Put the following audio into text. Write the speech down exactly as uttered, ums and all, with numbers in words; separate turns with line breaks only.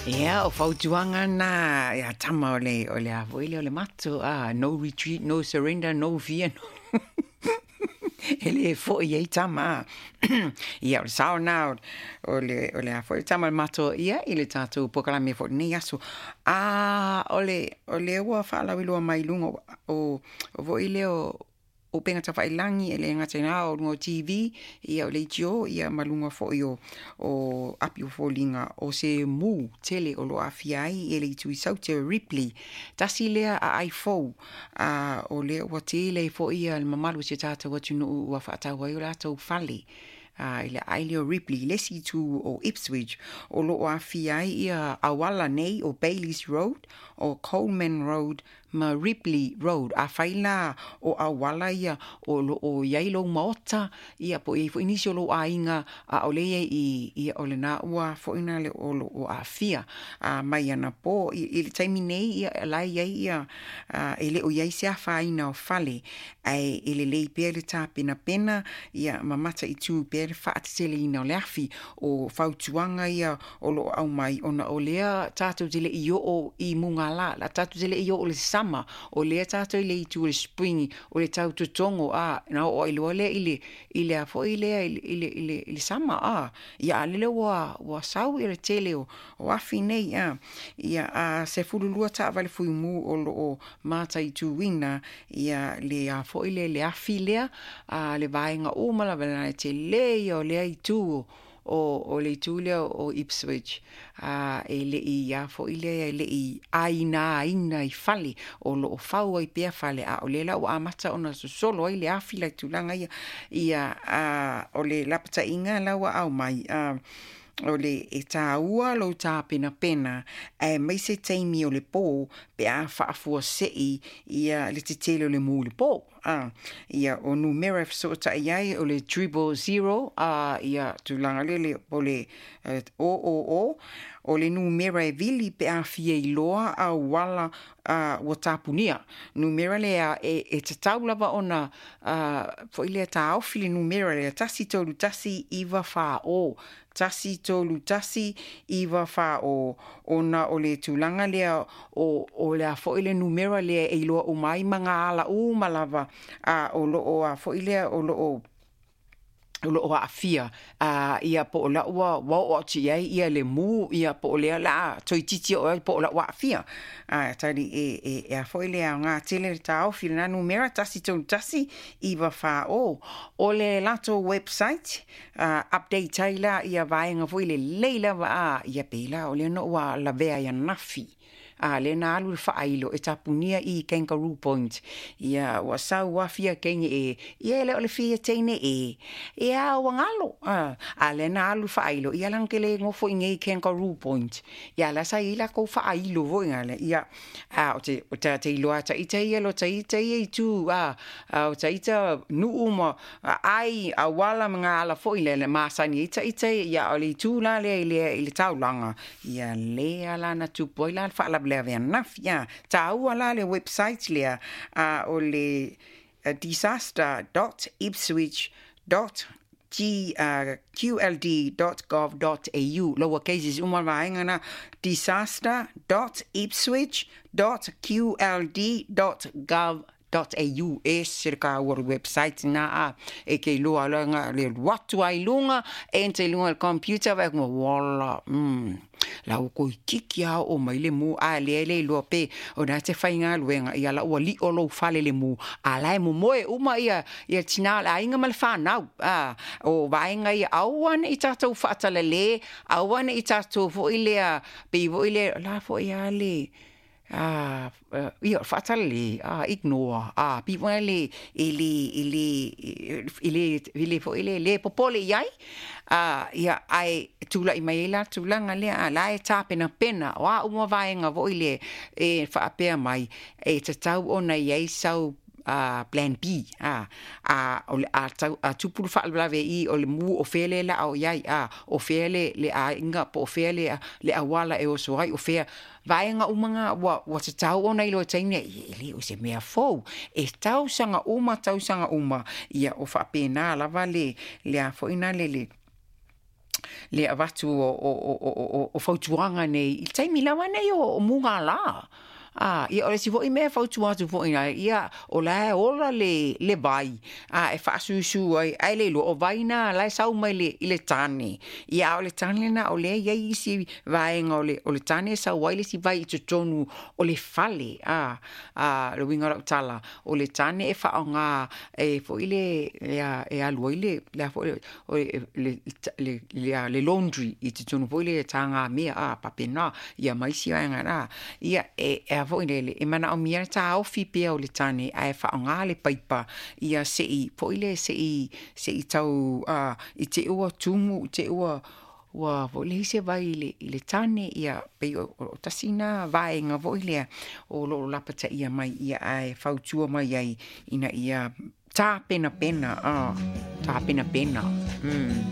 Ia, o fautuaga na ia tama o le o le a foi lea o le mato, a no retreat, no surrender, no fear, no e le fo'i ai tama. Ia, o le sao na o le o le a foi tama o le mato ia i le tatou polokalame foi lenei aso. A o le o lea ua faalauiloa mai luga o o foi lea o upega tafailagi, e le gata i lena o luga o T V, ia o le I T O, ia ma luga foi o o api o foliga o se mu tele o lo aafia ai e le itu i Saute o Ripley. Tasi lea aai fou a o lea ua tele ai foi ia le mamalu o si o tatou atunuu ua faatau ai o latou fale a i le aai lea o Ripley, le isi itu o Ipswich, o lo o aafia ai ia auala nei o Bayleys Road, o Coleman Road ma Ripley Road. Afai la o auala ia o lo o i ai lou maota, ia po o i ai foi nisi o lou aiga a o le i ai i, ia o lena ua foi na le o lo o aafia a mai anapo i, i le taimi nei, ia la i ai ia e le o i ai se afaina o fale, ae e lelei pea le tapenapena ia ma mataitu pea le faateteleina o le afi. O fautuaga ia o lo o aumai ona o lea tatou te le i oo i mugala la, tatou te le i oo le sama, o lea tatou i le itu o le spring, o le tau totogo a na oo ai loa lea i le i le a foi lea i le i le i le, i le sama a ia a lele ua ua sau ia le tele o, o afi nei a ia a sefululua taavale fuimu o lo o mataituina ia le a foi le le afi lea a le vaega uma lava na tele ia o lea itu o, o le itu lea o Ipswich a e le i a foi lea e le i aina aina i fale o lo o fau ai pea fale, a o lea la ua amata ona sosolo ai le afi la i tulaga ia ia a o le lapataiga la ua aumai a o le e tāua lou tapenapena ae mai se taimi o le pō pe a faafuasei ia le tetele o le mu i le pō a ia o numera e fesootai ai o le triple zero a ia tulaga lele o le o o o o le numera e vili pe a fia iloa auala uh, ua tapunia numera lea e, e tatau lava ona uh, foi lea taofi le numera lea tasi tolu tasi iva fa o, tasi tolu tasi iva fa o, ona o le tulaga lea o, o le a foi le numera lea e iloa uma ai ma ngā ala uma lava a o lo o a foi lea o lo o o lo o aafia a ia po o la ua ua oo atu i ai ia le mu ia po o lea la toeitiiti oo ai po o la ua aafia a tali e e e a foi le aoga tele le taofi lena numera tasi tolu tasi iva fa o. O le latou website uh, update ai la ia vaega foi lelei lava a ia pei la o lea no ua lavea ia nafi a le na alu le faailo e tapunia i Kangaroo Point ia ua sau afia keine e ia le o le fia teine e e a ua ngalo a a le na alu faailo ia lang kele ngofo i nei Kangaroo Point ia la sa ila ko faailo vo ngale ia a o te o te te iloa ta ita ia lo ta ita ia i tu a a o ta ita nuu ma ai a wala mga ala foi le masani ita ita ia o le itu la le le i le taulaga ia le ala na tupu ai la le faalavelave anafi ia taua la le website lea a o le uh, disaster dot ipswich G, uh, Q L D dot gov dot A U, lowercases uma vaega na disaster dot ipswich dot Q L D dot gov dot A U. E se ka ua website na a e ke iloa la le alu atu ai luga e ente i luga le computer vai kuma wala mm la ua koikiki a oo mai le mu a lea le iloa pe o na te faigaluega ia la ua li'o lou fale le mu a la e momoe uma ia ia tinā le aiga ma le fanau a o vaega ia aua ne'i tatou faatalale, aua ne'i tatou fo'i lea pei fo'i lea la fo'i a le a ia faatalale a ignore a pi foi le e le e le e le e le fo'i le le popole i ai a ia ae tula'i mai ai la tulaga lea a la e tapenapena o a uma vaega fo'i le e faapea mai e tatau ona i ai sau uh, plan B a a o le a tau a tupu le faalavelave i o le mu o fea le la o iai a o fea le le aiga po o fea le le auala e oso ai o fea vaega uma ngā ua ua tatau ona iloa taimi e le o se mea fou e tausaga uma tausaga uma ia o faapena lava le le a fo'i na le le Le avatu o o o o o, o fautuaga nei i le taimi lava nei o, o mugala. A, ia, o le isi foi mea e fautua atu foi ai, ia, o la e ola le, le vai, a e faasusu ai, ae le iloa o vai na la e sau mai le, i le tane. Ia, a o le tane lena, o lea e i ai isi vaega o le, o le tane e sau ai le isi vai i totonu o le fale. A, a, le uiga o lau tala, o le tane e faaaoga e foi le, e, e alu ai le, le, a foi, o le, le, le, le, le laundry i totonu foi le tagamea a papena ia ma isi vaega na. Ia, e, e a foi le, e manaomia le taofi pea o le tane ae faaaoga le paipa ia seʻi foi le seʻi seʻi tau a i te ua tumu i te ua ua foi le se vai i le, i le tane ia pei o, o, o tasi na vaega foi lea o loo lapataia mai ia ae fautua mai ai ina ia tapenapena a tapenapena mm.